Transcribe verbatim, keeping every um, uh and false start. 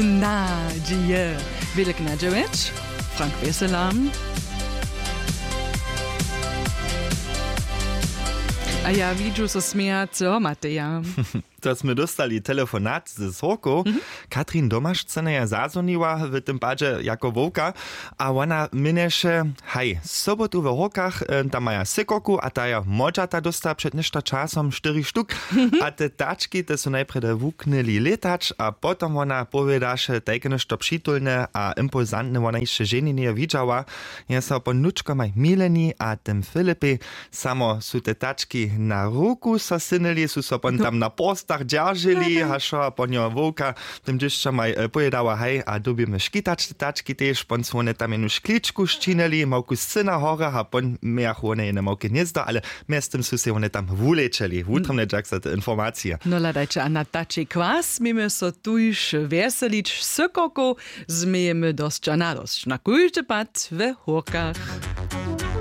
Nadźije. Wjelk na dźewjeć. Frank Wjesela. A ja widźu so smějaceho Mateja. To smy dóstali telefonat z Hórkow. Katrin Domašcyna je zazwoniła w tym padźe jako wowka a wona měnješe, haj, sobotu w Hórkach, e, tam maja sykoku a ta je modźata dósta před něšto časom štyri štuk. A te tački, te su najprjedy wuknyli lětać a potom wona powědaše tajke něšto přitulne a impulsantne, wona hišće ženje njeje widźała. Je so po nučkomaj Mileni a tym Filipej. Samo su te tački na ruku so synyli, su so pon tam na porstach dźeržili, hašo a pon jo wowka tym dźěšćomaj, e, powědała, haj, a dyrbimy škitać te tački tež, pon su wone tam jenu škličku šćinili, małku scyna hora a pon mějachu wone jene małke hnězdo, ale mjeztym su sej wone tam wulečeli. Wutrobnje dźak za te informacije. No hladajće, a na tačej kwas měmy so tuž wjeselić, sykokow změjemy dosć a nadosć na kóždy pad we Hórkach.